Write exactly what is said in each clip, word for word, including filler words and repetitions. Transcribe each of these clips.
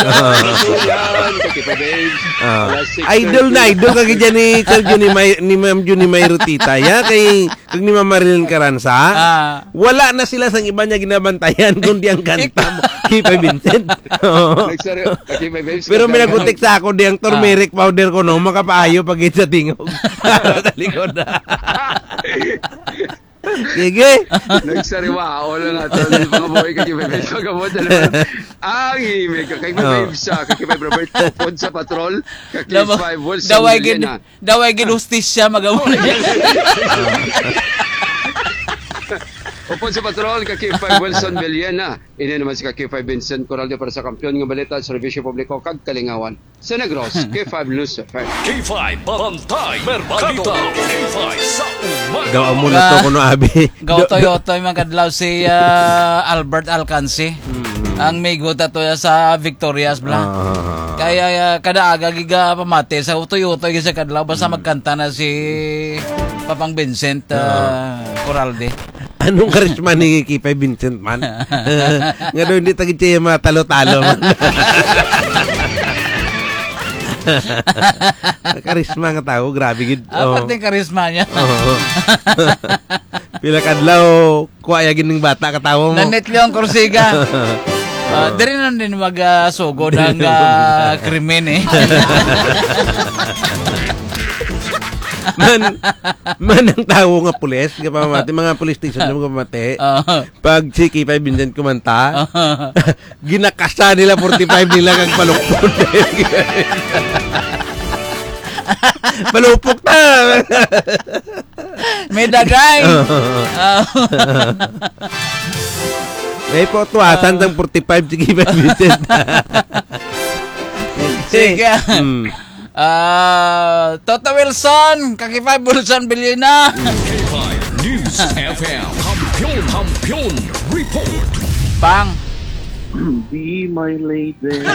Yan, kay K five Babes. Ah. Alas six thirty. Idol na idol ka gid yan ni Sir Junimay, ni Ma'am Junimay Rutita, ya, kay, kag ni Ma'am Marilyn Caranza. Ah. Wala na sila sang iba niya ginabantayan, kundi ang kanta mo, K five Vincent. Oo. Nagsari-, okay, may babes, Pero may nagkanta. Nagutik sa ako, di ang turmeric powder ko, no, makapaayo pag sa tingog. Sa likod. Sige. Nagsariwa, ako lang ato, mga boy, kay may babes, pagkabot na naman. Ang email ka, kay may Oo. Babes, ah, kay may Robert, upod sa patrol, kay Lamang, Five Wilson daway gid, Villena. Daway gid hustisya, mag-amo na yan. Upod sa patrol, ka K five Wilson Villena. Ini naman si ka K five Vincent Coralde para sa Kampiyon nga Balita, Serbisyo Publiko, kag Kalingawan. Sa Negros, K five News F M. K five, Bantay Merkado. K five sa umaga. Daw amo na to Ga-, kuno, abi. Gaw Do-, do- toyotoy, mga kadlaw, si, ah, Albert Alcance. Mm. Ang migo ta to ya sa Victorias, bla. Ah. Kaya, ah, kada aga giga pamati sa utoy-utoy sa kadlaw, basta Mm. magkanta na si Papang Vincent, Ah. ah, Coralde. Anong karisma ni Kipay Vincent man? Nga daw hindi tagid siya yung mga talo-talo man. Karisma nga tao, grabe gid. Ah, Oh. Pati yung karisma niya. Oo. Pila kadlaw, kuha ya gining bata katawo mo. Nanit Leon Corsiga. Ah, diri na din mag, ah, sugod ang, ah, krimen, eh. Man, man ang tawo nga pulis, nga pamati, mga police station nga pamati. Ah. Pag si Kipay Vincent kumanta, ginakasa nila forty-five nila kag palukpon. Palupok ta! May dagay. Oo. Ah. May po tuwasan Ah. sang forty-five, sige, may Vincent. Sige. Hmm. Ah, Toto Wilson, ka K five Wilson Bilina. K five News F M. Kampiyon, Kampiyon Report. Pang. Be my lady.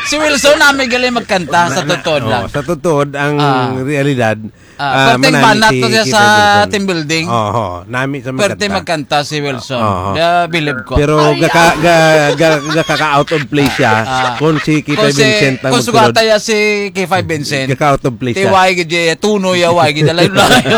Si Wilson, nami gali magkanta sa Na, na, totoo oh, lang. Sa totoo, ang Ah. realidad, Ah, ah, perting manami banat si to siya Kipay sa Wilson. Team building. Oho, nami sa Perte magkanta. Magkanta si Wilson. Oho. Yeah, bilib ko. Pero Ay, gaka-, ah. ga-, ga-, gakaka-out of place siya Ah. kung si Kipay Kung si, Vincent ang kung magsulod. Sugata ya si Kipay Vincent. Gaka-out of place siya. Tiway gid, eh, tuno ya, way gid, layo-layo.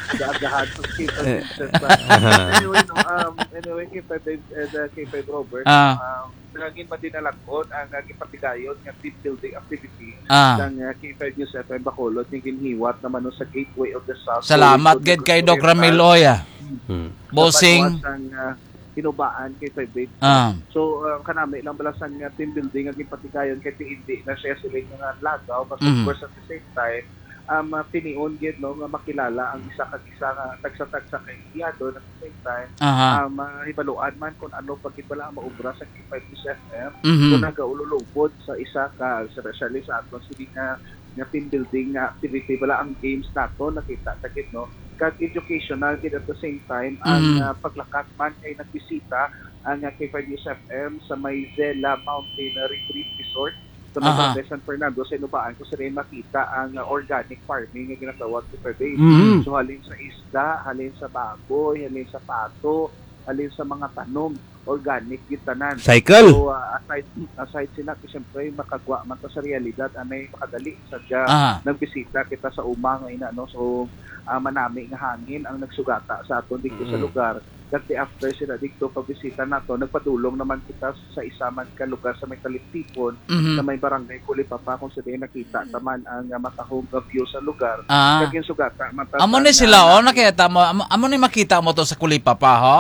Gagahan sa Kipay Eh. Vincent ba? Aha. Anyway, no, um, anyway, Kipay Vin-, eh, the Kipay Robert, Ah. um, Naging madinalagon ang, ah, gipatigayon nga team building activity Ah. sang, ah, K five News F M Bacolod nga ginhiwat naman, no, sa Gateway of the South. Salamat So, gid kay Doc Ramil Oy, ah. Hmm. Bossing. Napagawas ang, ah, hinubaan kay Five Eight. Ah. So, ah, kanami lang bala sang, ah, team building nga ginpatigayon kay hindi na siya sila nga lagaw, but of Mhm. course, at the same time, um, ah, tinion gid, no, nga makilala ang isa kag isa nga tagsa-tagsa kay Iyado, at the same time, Aha. um, ah, hibaluan man kung ano pa gid bala ang maubra sa K five News F M, Mhm. kung nagaululubod sa isa ka, especially sa aton sini nga, nga team building nga activity, bala ang games nato, nakita ta gid, no? Kag educational gid at the same time, ang, Mhm. ah, paglakat man kay nagbisita ang, ah, K five News F M sa may Zela Mountain Retreat Resort. Sa may Aha. Barangay San Fernando, sa Inubaan, kung saan ay makita ang, uh, organic farming nga ginatawag sa Pabay. Mm. So, halin sa isda, halin sa baboy, halin sa pato, halin sa mga tanom, organic gid tanan. Cycle. So, uh, aside, aside sila, siyempre, makagwa man ta sa realidad, anay makadali sa dya, Aha. nagbisita kita sa uma nga ina, no? So, uh, manami nga hangin ang nagsugata sa aton dito sa Mm. lugar. Kag ti after sila dito pabisita nato, nagpadulong naman kita sa isa man ka lugar sa may Taliptipon, Mhm. sa may barangay Kulipapa, kung sa diin nakita ta man ang, ah, matahom nga view sa lugar. Ah. Kag yung sugata, mata Amo ni sa sila, na- oh, nakita mo, amo, amo ni makita mo to sa Kulipapa, ho?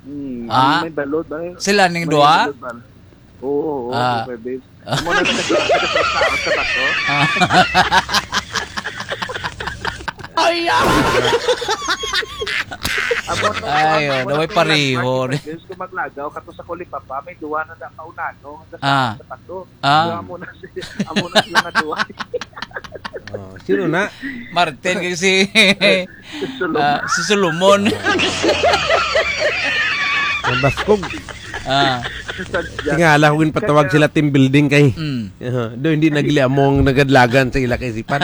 Hmm, Ah. ang may balod ba? Sila ning May duha? balod ba? Oo, oo, Ah. K five Babes. Amo na nagkasakit sa tao sa bato. Ah. Ay, ah. Amo to, Ay, amo oh, na naway to yung pareho, landmark eh. Sa Diyos, kung maglagaw ka to sa Kulipapa, may duwa na na kaunano, hanggang sa, Ah. sa bato. Ah. Pero amo na si-, amo na sila nga duwa. Oh, sino na? Martin kay si, Si Solomon. ah, si Solomon. Nabaskog. Ah. Sadya. Tingala ko ginpatawag Kaya sila team building kay, Mm. uh, do hindi nagli amo ang nagadlagan sa ila kaisipan.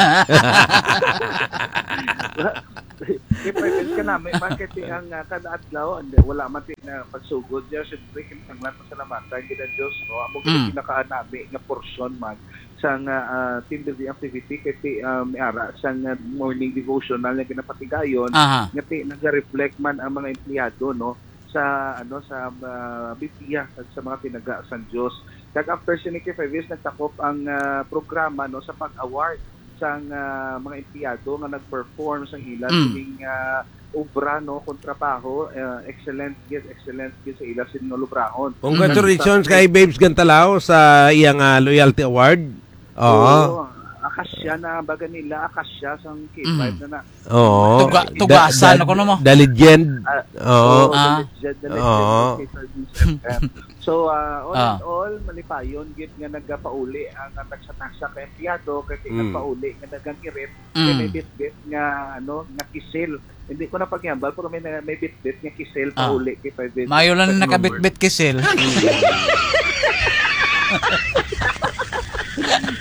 Kay Pepes ka Nami man kay ti ang, ah, kada adlaw, hindi, wala man ti na pagsugod. Diya, syempre, kinahanglan pasalamatan gid ang Diyos, no? Amo gid ang Mm. pinakaanami nga porsyon man sa nga, ah, team building activity kay ti, ah, may ara sa nga morning devotional nga ginapatigayon Aha. nga ti nag-reflect man ang mga empleyado, no, sa, ano, sa, ah, Biblia, sa, sa mga tinaga sang Diyos. Kag after sini, K five News, nagtakop ang, ah, programa, no, sa pag-award sang, ah, mga empleyado nga nag-perform sang ila Mm. sining, ah, obra, no, kung trabaho, ah, excellent gid, excellent gid sa ila sining ulubrahon. Congratulations Mm. kay Babes Gantalaw sa iyang, ah, Loyalty Award. Oo. Oo, akasya na, baga nila, akasya sang K five Mm. na na. Oo. Tuga-, Da-, tugasan da-, ako, no, mo? The legend. Ah, Oo. oo, the Ah. legend, the legend Oo. ng K five News F M. So, ah, all Ah. in all, malipayon gid nga nagapauli ang, ah, tagsa-tagsa ka empleyado, kay Mm. nagpauli nga nagangirit, kay may Mm. bitbit nga, ano, nga kisil. Hindi ko na paghambal, pero may na-, may bitbit nga kisil Ah. pauli kay five Maayo lang News. Nakabitbit kisil.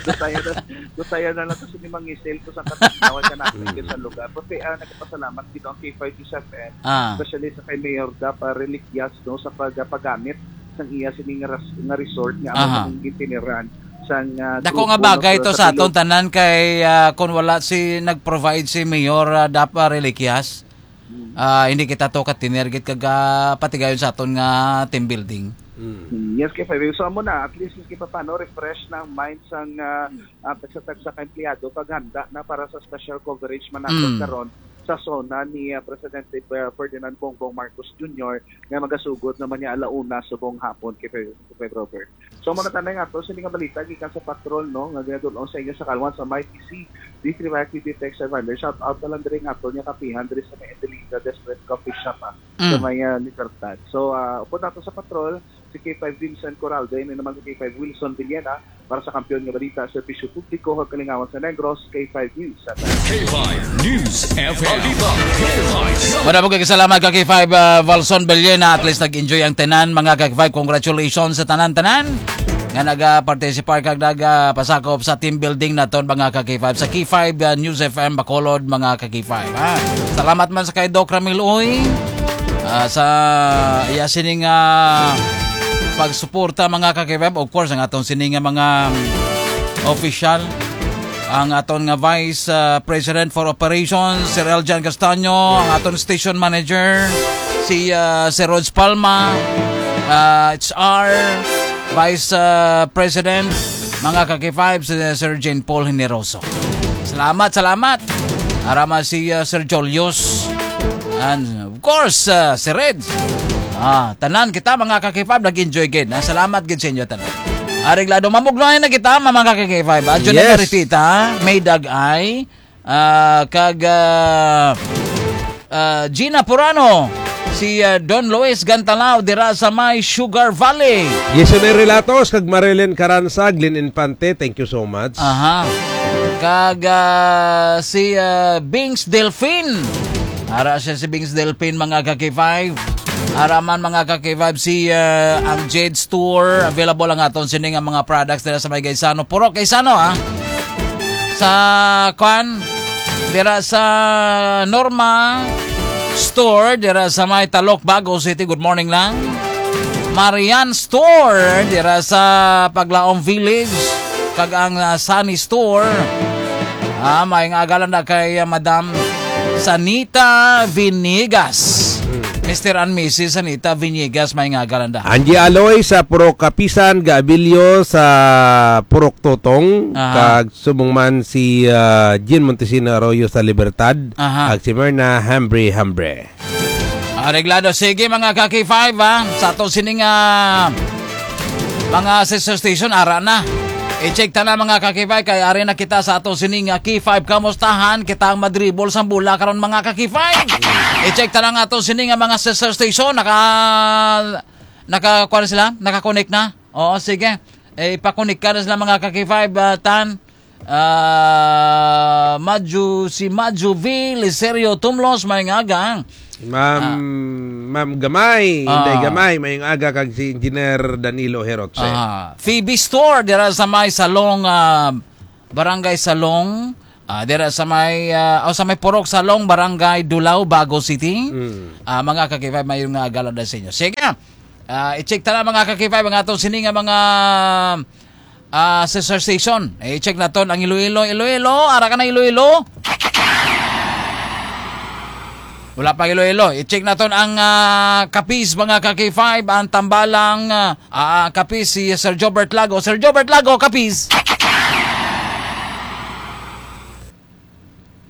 Kusaya na, kusaya na lang to sa limang ngisil ko sa katawag ka natin Mm. sa lugar. Kasi, ah, nagpasalamat gid ang K five News F M, Ah. especially sa kay Mayor Dap, ah, Reliquias, no, sa pag-, paggamit sang iya sining ras-, nga resort nga amo Aha. Nang gintiniran sang, ah, Dako grupo nga bagay nga to sa sa aton Pilo- tanan kay, ah, kung wala si, nag-provide si Mayor, ah, Dap, ah, Reliquias, Hmm. ah, hindi kita to katinir gid kag, ah, patigayon sa aton nga team building. Mm. Mm, yes, kay Fabio. So, amo na, at least, kay paano, refresh na ang mind sang, ah, ah, tagsa-tagsa ka empleyado, paghanda na para sa special coverage man naton Mm. karon sa SONA ni, ah, Presidente, ah, Ferdinand Bongbong Marcos Junior nga magasugod naman niya ala una subong hapon kay Fabio, kay Robert. So, mga tanay nga to, sini nga balita gikan sa patrol, no, nga ginadul-ong sa inyo sa Kalwan sa may P C, D three Y T D Text Survivor. Shout out na lang diri nga ato niya kapihan diri sa may Adelita Desperate Coffee Shop, ah, sa Mm. may, ah, Libertad. So, ah, upod nato sa patrol, si K five Vincent Coraldo, ini naman si K five Wilson Villena, para sa Kampiyon nga Balita, Serbisyo Publiko, kag Kalingawan sa Negros, K five News. K five News F M. Madamo kay salamat ka K five, ah, Valson Bellena. At least nag-enjoy ang tanan, mga ka K five. Congratulations sa tanan-tanan nga naga-participate kag naga-pasakop sa team building naton, mga ka K five, sa K five, ah, News F M Bacolod, mga ka K five, ha. Salamat man sa kay Doc Ramil Uy, ah, sa iya sining, ah, pagsuporta, mga ka K five. Of course, ang atong sining nga mga, um, official, ang aton nga Vice, ah, President for Operations, Sir Eljan Castaño, ang aton station manager, si, ah, Sir Rog Palma, ah, H R, Vice, ah, President, mga ka K five, si Sir Jane Paul Generoso. Salamat, salamat. Ara man si, ah, Sir Julius. And of course, ah, si Reds. Ah, tanan kita, mga ka K five, nag-enjoy gid. Ah, salamat gid sa inyo tanan. Areglado, mamugnayan na kita, mga ka K five. Adyo na Yes. Maritita, May Dag-ay, ah, kag, ah, ah, Gina Purano, si, ah, Don Luis Gantalao dira sa may Sugar Valley. Jason A. Relatos kag Marilyn Caranza, Glenn Infante, thank you so much. Aha. Kag, ah, si, ah, Bings Delfin. Ara siya si Bings Delfin, mga ka K five. Ara man, mga ka K five, si, ah, ang Jade Store. Available ang aton sini nga mga products dira sa may Gaisano. Puro Gaisano, ah. Sa, kwan, dira sa Norma Store, dira sa may Talok, Bago City. Good morning lang. Marian Store, dira sa Paglaom Village. Kag ang, ah, Sunny Store. Ah, may nga agalan na kay, ah, Madam Sanita Vinigas. Hmm. Mister and Missus Sanita Vinigas, may nga agalan da. Angie Aloy sa Purok Kapisan, Gaabilio sa Purok Totong, Aha. kag subong man si, ah, Jean Montesino Arroyo sa Libertad, Aha. kag si Myrna Hambre Hambre. Areglado. Sige, mga ka K five, ha? Sa ato sining, ah, mga sister station, ara na. I-check ta na, mga ka K five, kay ari na kita sa ato sining, ah, K five Kamustahan. Kita ang madribol sa bola karon, mga ka K five. I-check ta na nga ato sining, ah, mga sister station. Naka, naka, kuwan sila? Naka-connect na? Oo, sige. Eh, ipa-connect ka na sila, mga ka K five, ah, Tan. Ah, Madju, si Madju V Liserio Tumlos, may nga aga. Ma'am, Ah. Ma'am Gamay, Ah. Inday Gamay, may nga aga kag si Engineer Danilo Herotse. Ah, Phoebe Store, dira sa may Salong, ah, Barangay Salong, Ah, dira sa may, ah, o sa may Purok Salong, Barangay Dulao, Bago City. Mm. Ah, mga ka-K five, maayong nga agala sa inyo. Sige. Ah, i-check ta na, mga ka-K five, ang aton sini nga mga, ah, sister station. Eh, i-check naton ang Iloilo. Iloilo, ara ka na, Iloilo? Wala pa, Iloilo. I-check naton ang, ah, Capiz, mga ka-K five, ang tambalang, ah, ah, Capiz, si Sir Jobert Lago. Sir Jobert Lago, Capiz.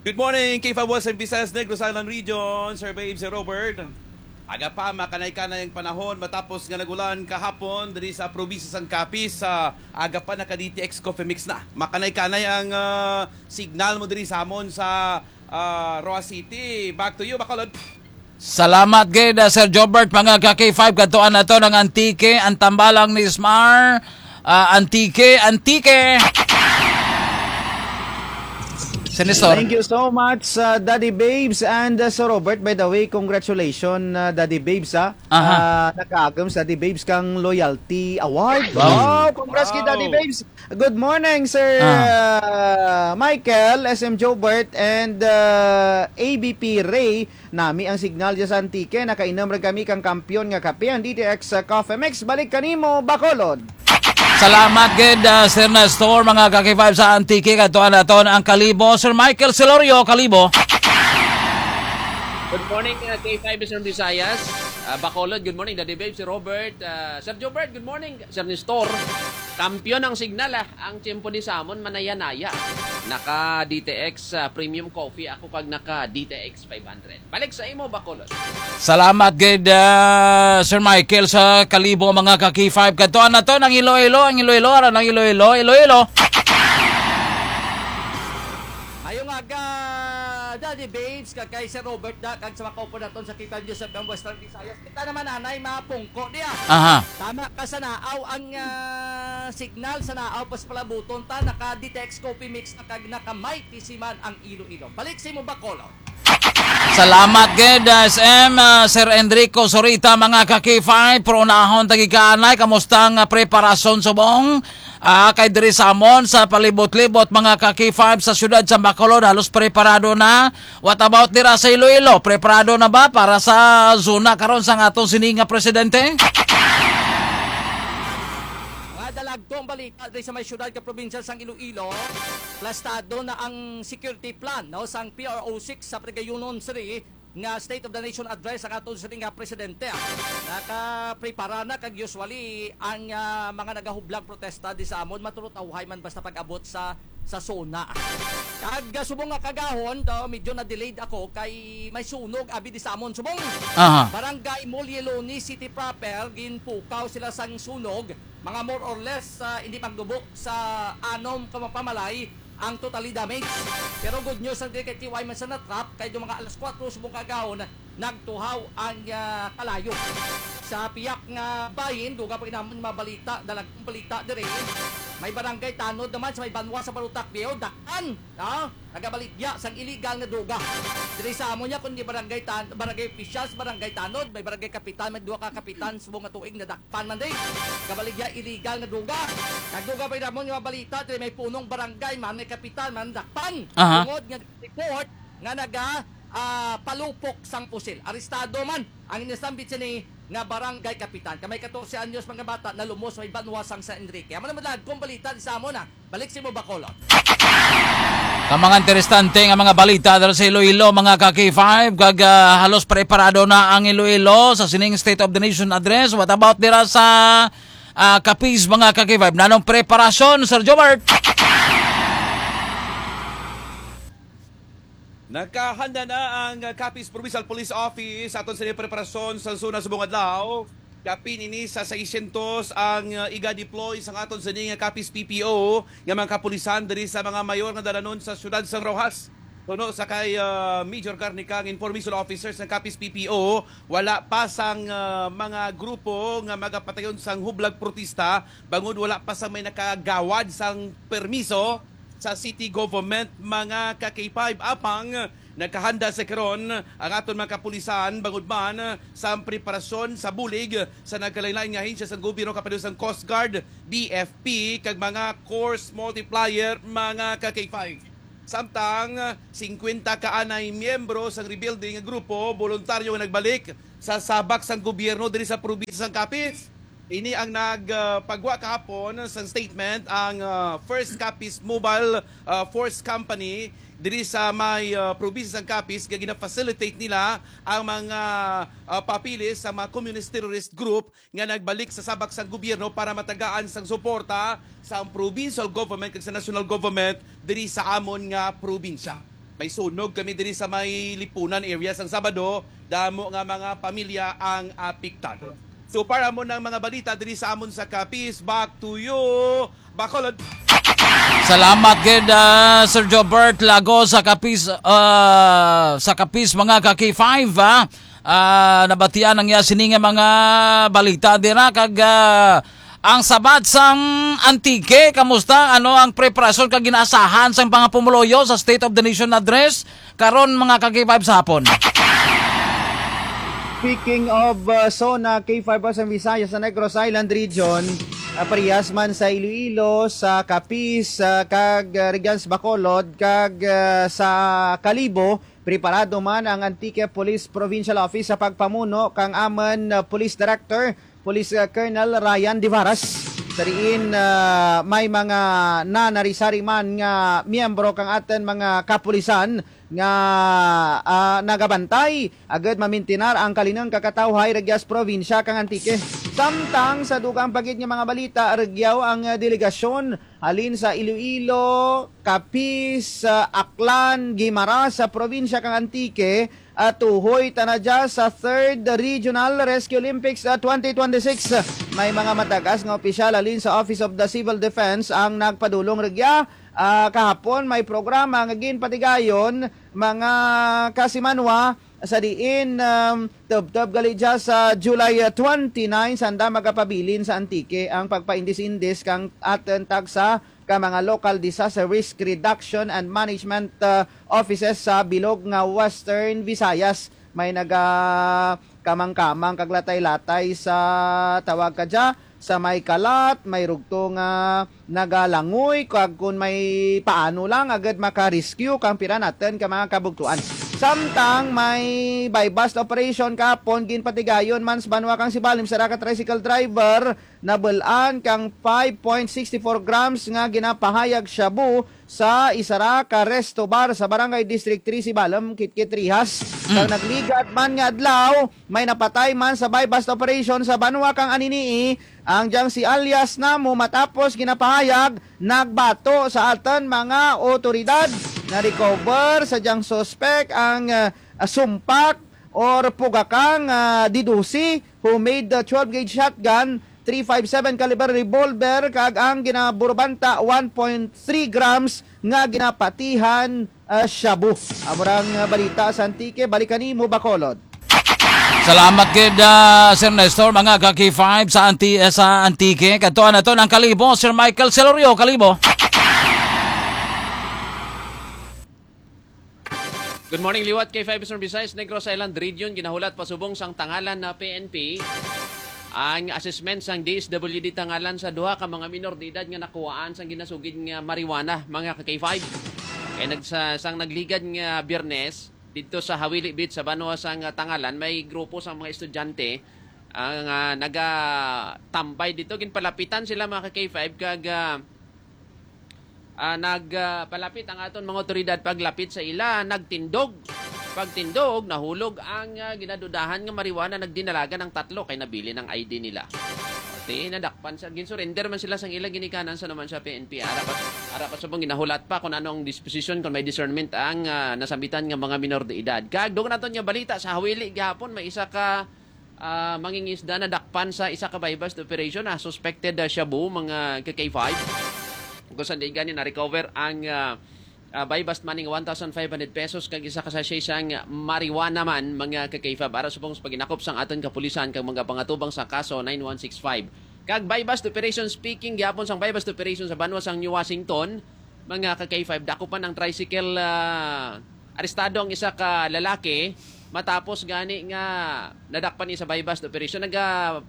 Good morning, K five West and Visayas, Negros Island Region, Sir Babe, Sir Robert. Aga pa, makanay-kanay ang panahon matapos nga nagulan kahapon diri sa probinsya sang Capiz. Sa aga pa, naka D T X Coffee Mix na. Makanay-kanay ang, ah, signal mo diri sa amon sa, ah, Roxas City. Back to you, Bacolod. Salamat gid, ah, Sir Jobert. Mga ka-K five, kadtuan naton ang Antique, ang tambalang ni Smar. Ah, Antique, Antique. Senator. Thank you so much, uh, Daddy Babes and, uh, Sir Robert. By the way, congratulations, uh, Daddy Babes, ha. Aha. Uh, nakaagom sa Daddy Babes kang Loyalty Award. Wow. Wow, congrats kay Daddy Wow. Babes. Good morning, Sir, Ah. uh, Michael, S M Jobert, and, uh, A B P Ray. Nami ang signal dyan sa Antique. Nakainom ra kami kang kampiyon nga kape, ang D T X Coffee Mix. Balik kanimo, Bacolod. Salamat gid, ah, Sir Nestor, mga ka-K five sa Antique. Kadtuan naton ang Kalibo, Sir Michael Celorio, Kalibo. Good morning, uh, K five Eastern Visayas. Uh, Bacolod, good morning, Daddy Babe, si Robert. Uh, Sir Jobert, good morning, Sir Nestor. Kampiyon ang signal, ah. Ang tiyempo ni Samon, manaya-naya. Naka D T X, uh, Premium Coffee ako kag naka D T X five hundred. Balik sa imo, Bacolod. Salamat gid, ah, Sir Michael, sa Kalibo, mga ka-K five. Kadtuan naton ang Iloilo, ang Iloilo, ara ang Iloilo, Iloilo. Ayong aga, Daddy Babes, kag kay Sir Robert da, kag sa mga kaupo naton sa K five News F M Western Visayas. Kita naman, anay, mapungko diya. Aha. Tama ka sa naaw ang, ah, signal, sa naaw pas palabuton ta, naka D T X Coffee Mix na kag naka Mighty Seaman ang Iloilo. Balik sa imo, Bacolod. Salamat gid, S M, ah, Sir Enrico Sorita, mga ka-K five, pero unahon ta gikaanay, kamusta ang, ah, preparasyon subong? Ah, kay diri sa amon, sa palibot-libot, mga ka-K five, sa siyudad sa Bacolod, halos preparado na. What about dira sa Iloilo? Preparado na ba para sa zona karon sang aton sini nga presidente? Mga dalagtong balita diri sa may siyudad ka probinsya sang Iloilo, plastado na ang security plan, no, sang P R O six sa pagayunon sini nga State of the Nation Address ang aton sini nga presidente. Nakaprepara na kag usually ang, ah, mga nagahublag protesta di sa amon matulot awhay man basta pag-abot sa, sa SONA. Kag, ah, subong nga kagahon, daw medyo na-delayed ako kay may sunog abi di sa amon subong. Aha. Barangay Mulyeloni City proper, ginpukaw sila sang sunog. Mga more or less, ah, hindi magdubo sa anom ka mga pamalay ang totally damage. Pero good news ang diri kay T Y man sa natrap kay do mga alas kuwatro subong kagahon nagtuhaw ang, ah, kalayo. Sa piyak nga bahin, duga pa ginamon mga balita, dalagkong balita diri. May barangay tanod naman sa may banwa sa Barotac Viejo, dakpan, no? Nagabaligya sang illegal nga duga. Diri sa amo niya, kundi barangay tan-, barangay officials, barangay tanod, may barangay kapitan, may duha ka kapitan, subong nga tuig na pan man, day. Kabaligya illegal nga duga. Nagduga pa namon nga balita, diri may punong barangay man, may kapitan man, dakpan. Aha. Tungod nga report nga naga, ah, palupok sang pusil. Arestado man ang inisambit sini nga barangay kapitan. Ka may katorse anyos mga bata nalumos may banwa sang San Enrique. Amo naman lang kung balita di sa amo na. Balik si mo Bacolod. Ka mga interesante nga mga balita dala sa Iloilo, mga ka-K five, kag, ah, halos preparado na ang Iloilo sa sining State of the Nation Address. What about dira sa, ah, Capiz, mga ka-K five? Nanong preparasyon, Sir Jobert? Nakahanda na ang Capiz Provincial Police Office aton sa preparasyon sa zona subong adlaw. Kapin ini sa seiscientos ang, uh, iga-deploy sang aton sini nga Capiz P P O nga mga kapulisan diri sa mga mayor nga dalanon sa siyudad sang Roxas. Puno sa kay, uh, Major Garnica nga information officer sang Capiz P P O, wala pa sang, uh, mga grupo nga magapatayon sang hublag protesta bangod wala pa sang may nakagawad sang permiso sa city government, mga ka-K five. Apang nagkahanda sa karon ang aton mga kapulisan bangod man sa preparasyon sa bulig sa nagkalain-lain nga ahensya sa gobyerno, kapareho sang Coast Guard, B F P, kag mga Corps Multiplier, mga ka-K five. Samtang singkwenta ka anay miyembro sang rebuilding nga grupo, boluntaryo nga nagbalik sa sabak sang gobyerno diri sa probinsya sang Capiz. Ini ang nagpagwa kahapon sang statement ang, ah, First Capiz Mobile, ah, Force Company diri sa may, ah, probinsya sang Capiz, nga gina-facilitate nila ang mga, ah, papeles sa mga communist terrorist group nga nagbalik sa sabak sang gobyerno para matagaan sang suporta sa provincial government kag sa national government diri sa amon nga probinsya. May sunog kami diri sa may Lipunan area sang Sabado, damo nga mga pamilya ang apektado. So para mo ng mga balita diri sa amon sa Capiz, back to you, Bacolod. Salamat gid, ah, Sir Jobert Lago sa Capiz, ah, sa Capiz, mga ka K five, ah. Ah, nabatian ang iya sini nga mga balita dira kag, ah, ang sabat sang Antique, kamusta? Ano ang preparasyon kag ginaasahan sang mga pumuluyo sa State of the Nation Address karon, mga ka K five, sa hapon? Speaking of, uh, zona K five sa Visayas sa Negros Island Region, uh, parehas man sa Iloilo, sa Capiz, uh, kag, uh, Regions Bacolod, kag, uh, sa Kalibo, preparado man ang Antique Police Provincial Office sa pagpamuno kang amon, uh, Police Director, Police, uh, Colonel Ryan Divaras. Sa diin, uh, may mga nanari-sari man nga miyembro kang aton mga kapulisan nga, ah, nagabantay agud mamintinar ang kalinong kakatawhay ragya sa probinsya kang Antique. Samtang sa dugang pa gid nga mga balita, rugyaw ang, ah, delegasyon halin sa Iloilo, Capiz, ah, Aklan, Guimaras sa probinsya kang Antique, at tuhoy ta na dya sa Third Regional Rescue Olympics, ah, twenty twenty-six. May mga matagas nga opisyal halin sa Office of the Civil Defense ang nagpadulong rugya. Ah, kahapon may programa nga ginpatigayon, mga kasimanwa, sa diin, um, tubtob gali dya sa July, uh, twenty-nine, sanda magapabilin sa Antique ang pagpaindis-indis kang aton tagsa ka mga local disaster risk reduction and management, uh, offices sa bilog nga Western Visayas. May naga kamang-kamang kag latay-latay sa tawag ka dya, sa may kalat, may rugto nga nagalangoy, kag kun may paano lang agad maka-rescue kang pira naton ka mga kabugtuan. Samtang may buy-bust operation kahapon, ginpatigayon man sa banwa kang Sibalom, isa ra ka tricycle driver nabul-an kang five point six four grams nga ginapahayag shabu sa isa ra ka resto bar sa Barangay District three Sibalom, Kitkit, Rihas. Kag nagligad man nga adlaw, may napatay man sa buy-bust operation sa banwa kang Anini-y, ang dyang si alias Namo, matapos ginapahayag nagbato sa aton mga otoridad. Na-recover sa dyang suspek ang, ah, sumpak or pugakang, ah, D twelve, homemade, ah, twelve gauge shotgun, three five seven caliber revolver, kag ang ginaburubanta one point three grams nga ginapatihan, ah, shabu. Amo ra ang, ah, balita sa Antique. Balik kanimo, Bacolod. Salamat gid, ah, Sir Nestor, mga ka K five sa Anti-, eh, sa Antique. Kadtuan naton ang Kalibo, Sir Michael Celorio. Kalibo. Good morning, liwat K five Eastern Visayas, Negros Island Region. Ginahulat pasubong sang Tangalan na P N P ang assessment sang D S W D Tangalan sa duha ka mga minor de edad nga nakuhaan sang ginasugid nga marijuana, mga ka K five. Kay nagsa-, sang nagligad nga Biyernes, didto sa Hawili Beach sa banwa sang, ah, Tangalan, may grupo sang mga estudyante ang, ah, nagatambay didto. Ginpalapitan sila, mga ka K five, kag, ah, ah, nag, ah, palapit ang aton mga otoridad. Paglapit sa ila, nagtindog. Pagtindog, nahulog ang, ah, ginadudahan nga marijuana. Nagdinalagan ang tatlo kay nabilin ang I D nila. Ti, nadakpan sa, ginsurrender man sila sang ila ginikanan sa naman sa P N P. Ara pa, ara pa subong ginahulat pa kung ano ang disposition, kung may discernment ang, ah, nasambitan nga mga minor de edad. Kag dugang naton nga balita sa Hawili gihapon, may isa ka, ah, mangingisda nadakpan sa isa ka buy-bust operation, ah, suspected, ah, shabu, mga ka K five. Kung saan di gani na-recover ang, ah, ah, buy-bust money nga one thousand five hundred pesos kag isa ka sachet sang marijuana man, mga ka K five. Ara subong sa paghinakop sang aton kapulisan kag mga pangatubang sa kaso nine one six five. Kag buy-bust operation, speaking gyapon sang buy-bust operation sa banwa sang New Washington, mga ka K five, dakupan ang tricycle, ah, arestado ang isa ka lalaki matapos gani nga nadakpan niya sa buy-bust operation. Naga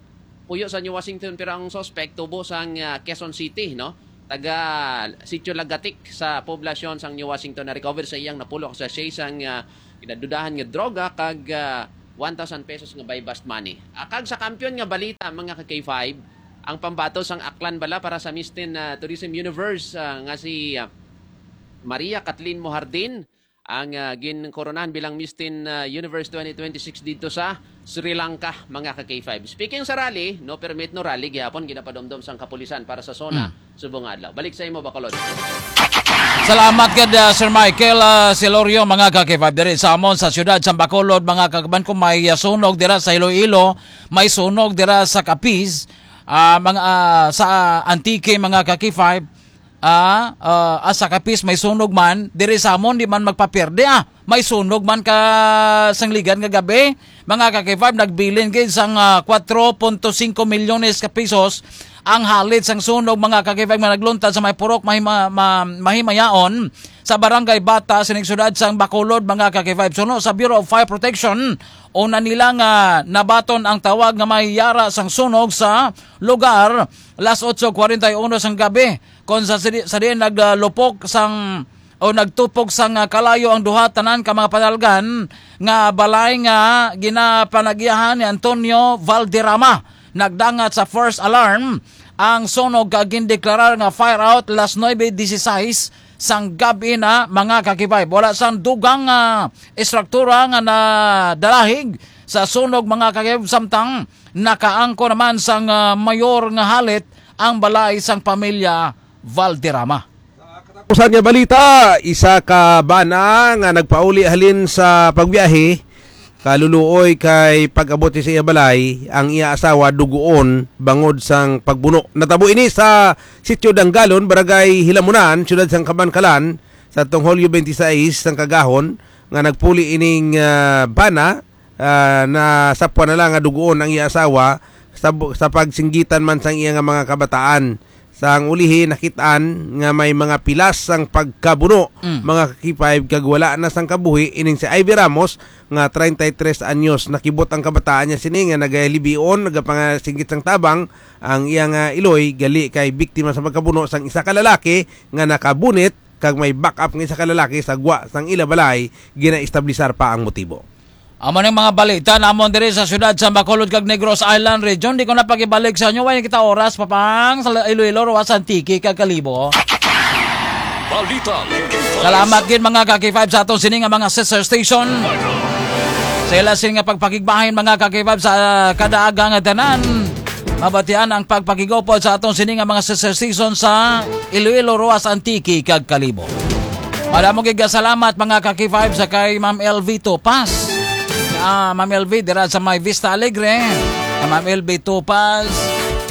puyo sa New Washington, pero ang suspect tubo sang, ah, Quezon City, no? taga Sitio Lagatik sa poblasyon sang New Washington na recover sa iyang napulo ka sachet sang, ah, ginadudahan nga droga kag, ah, one thousand pesos nga buy-bust money. Ah, kag sa kampiyon nga balita, mga ka K five, ang pambato sang Aklan bala para sa Miss Teen, ah, Tourism Universe, ah, nga si, ah, Maria Kathleen Mohardin, ang, ah, ginkoronahan bilang Miss Teen, ah, Universe twenty twenty-six didto sa Sri Lanka, mga ka K five. Speaking sa rally, no permit, no rally gihapon ginapadumdom sang kapulisan para sa SONA subong nga adlaw. Balik sa imo, Bacolod. Salamat gid, ah, Sir Michael, ah, Celorio, mga ka K five, diri sa amon sa siyudad sa Bacolod, mga kagban ko, may, ah, sunog dira sa Iloilo, may sunog dira sa Capiz, ah, mga, ah, sa Antique, mga ka K five, ah, ah, ah, sa Capiz may sunog man, diri sa amon di man magpapierde, ah. May sunog man ka sang ligad nga gabi, mga ka K five, nagbilin gid sang, ah, kwatro punto singko milyones ka pesos ang halit sang sunog, mga ka K five, nga nagluntad sa may purok mahima-, ma-, mahimayaon sa Barangay Bata, sining siyudad sang Bacolod, mga ka K five. Suno sa Bureau of Fire Protection, una nila nga nabaton ang tawag nga may yara sang sunog sa lugar, las otso kwarenta y uno sang gabi, kon sa sidi-, sa diin naglupok sang o nagtupok sang, ah, kalayo ang duha tanan ka mga panalgan nga balay nga ginapanagyahan ni Antonio Valderrama. Nagdangat sa first alarm ang sunog kag gindeklarar nga fire out las nuebe dieciséis sang gab-i na, mga ka K five. Wala sang dugang, ah, estruktura nga nadalahig sa sunog, mga ka K five, samtang nakaangko naman sang, ah, mayor nga halit ang balay sang pamilya Valderrama. Sa katapusan nga balita, isa ka bana nga nagpauli halin sa pagbiyahe, kaluluoy kay pag-abot sa iya balay, ang iya asawa duguon bangod sang pagbuno. Natabo ini sa Sitio Dangalon, Barangay Hilamunan, Siyudad sang Kamankalan, sa tong Hulyo twenty-six sang kagahon nga nagpuli ining, ah, bana, ah, nasapwan na lang nga duguon ang iya asawa sa bu-, sa pagsinggitan man sang iya nga mga kabataan. Sang ulihi, nakit-an nga may mga pilas sang pagkabuno, Mm. mga ka K five, kag wala na sang kabuhi ining si Ivy Ramos nga treinta y tres anyos. Nakibot ang kabataan niya sini nga nagalibion, nagapangasinggit sang tabang ang iya nga iloy, gali kay biktima sa pagkabuno sang isa ka lalaki nga nakabunit kag may backup nga isa ka lalaki sa gwa sang ila balay, ginaestablisar pa ang motibo. Amo ning mga balita namon diri sa siyudad sa Bacolod kag Negros Island Region. Di ko na pagibalik sa inyo, way kita oras pa pang sa Iloilo, Roxas, Antique kag Kalibo. Balita. Salamat gid, mga ka K five, sa aton sini nga mga sister station. Sa ila sini nga pagpakigbahin, mga ka K five, sa kada aga nga tanan. Mabatian ang pagpakigupod sa aton sini nga mga sister station sa Iloilo, Roxas, Antique kag Kalibo. Madamo gid nga salamat, mga ka K five, sa kay Ma'am L V Topas. Ah, Ma'am L V dira sa may Vista Alegre. Kay Ma'am L V Topas,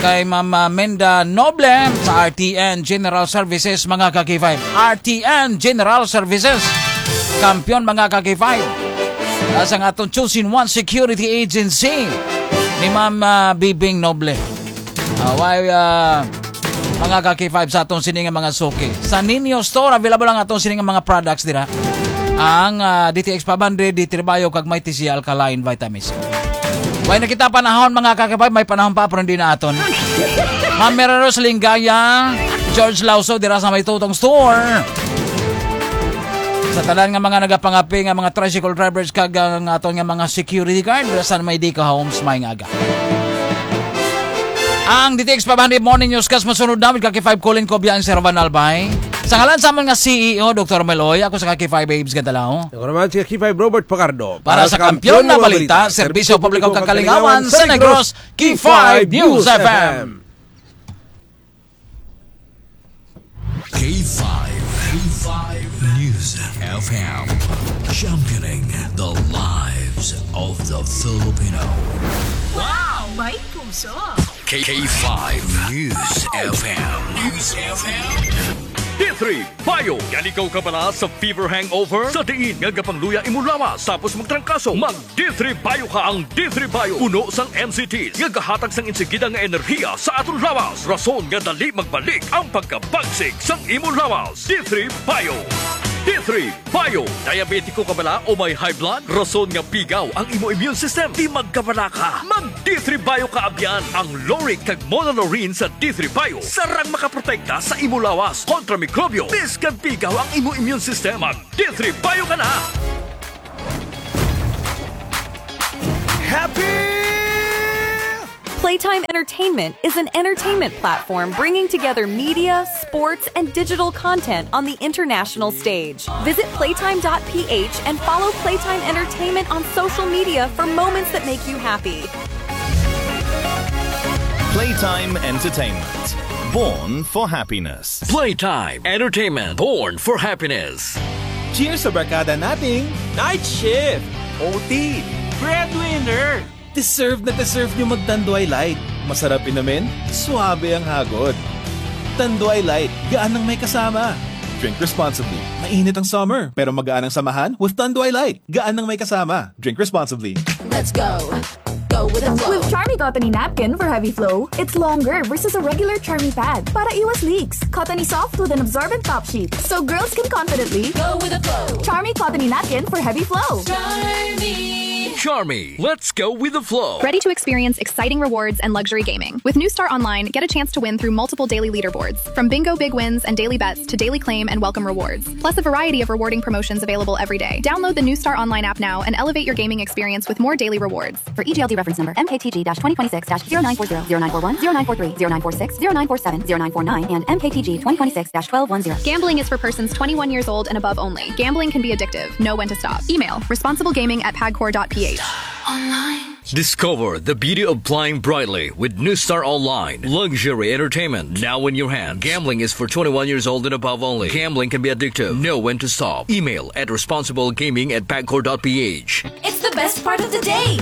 kay Ma'am, ah, Menda Noble sa R T N General Services, mga ka K five. R T N General Services. Kampiyon, mga ka K five. Sa nga atong Chosen One Security Agency ni Ma'am, ah, Bibing Noble. Ah, way, ah, mga ka K five, sa atong sini nga mga suki. Sa Nino Store, available ang atong sini nga mga products dira. Ang, ah, D T X five hundred, D three Bio, kag may T C Alkaline Vitamins. Way na kita panahon, mga ka K five, may panahon pa, pero hindi na aton. Ma'am Mira Rose Lingaya, George Lauso, dira sa may Tutong Store. Sa tanan nga mga nagapangapi nga mga tricycle drivers kag ang aton nga mga security guard, dira sa may Dico Homes, may nga aga. Ang D T X five hundred Morning Newscast masunod namin kay five Colin Cobia and Sir Van Albay. Sa ngalan sa amon nga C E O, Doktor Meloy, ako sa Kaki five Babes Gadalaw. Ako naman si Kaki five Robert Fajardo. Para sa Kampiyon na Balita, Serbisyo Publiko kag Kalingawan sa Negros, Kaki five News F M. K five, K five News F M, championing the lives of the Filipino. Wow! May puso! K five News F M. News F M. D three Bio. Yan ikaw kabala sa fever hangover? Sa diin nga gapangluya imo lawas tapos magtrangkaso, mag D three Bio ka. Ang D three Bio puno sang M C Ts nga gahatag sang insigida nga enerhiya sa aton lawas, rason nga dali magbalik ang pagkabagsik sang imo lawas. D three Bio. D three Bio. Diabetiko ka bala o may high blood? Rason nga pigaw ang imo immune system. Di magkabala ka. Mag D three Bio ka abyan. Ang laurate kag monolaurin sa D three Bio sarang makaprotekta sa imo lawas kontra mikrobyo. Biskang pigaw ang imo immune system, mag D three Bio ka na. Happy! Playtime Entertainment is an entertainment platform bringing together media, sports, and digital content on the international stage. Visit playtime dot p h and follow Playtime Entertainment on social media for moments that make you happy. Playtime Entertainment. Born for happiness. Playtime Entertainment. Born for happiness. Cheers sa barkada nating Night shift! O T. Breadwinner! Deserve na deserve nyo mag Tanduay Light. Masarap inumin, suabe ang hagod. Tanduay Light, gaan ang may kasama. Drink responsibly. Mainit ang summer, pero magaan ang samahan with Tanduay Light. Gaan ang may kasama. Drink responsibly. Let's go. Go with the flow. With Charmy Cottony Napkin for heavy flow, it's longer versus a regular Charmy pad para iwas leaks. Cottony soft with an absorbent top sheet, so girls can confidently Go with the flow. Charmy Cottony Napkin for heavy flow. Charmy. Charmy, let's go with the flow. Ready to experience exciting rewards and luxury gaming? With New Star Online, get a chance to win through multiple daily leaderboards, from bingo big wins and daily bets to daily claim and welcome rewards, plus a variety of rewarding promotions available every day. Download the New Star Online app now and elevate your gaming experience with more daily rewards. For E G L D reference number, M K T G twenty twenty-six dash zero nine four zero, zero nine four one, zero nine four three, zero nine four six, zero nine four seven, zero nine four nine, and M K T G twenty twenty-six dash twelve one zero. Gambling is for persons twenty-one years old and above only. Gambling can be addictive. Know when to stop. Email responsiblegaming at pagcor.ph. Discover the beauty of playing brightly with New Star Online. Luxury entertainment now in your hand. Gambling is for twenty-one years old and above only. Gambling can be addictive. Know when to stop. Email at responsiblegaming at pagcor.ph. It's the best part of the day.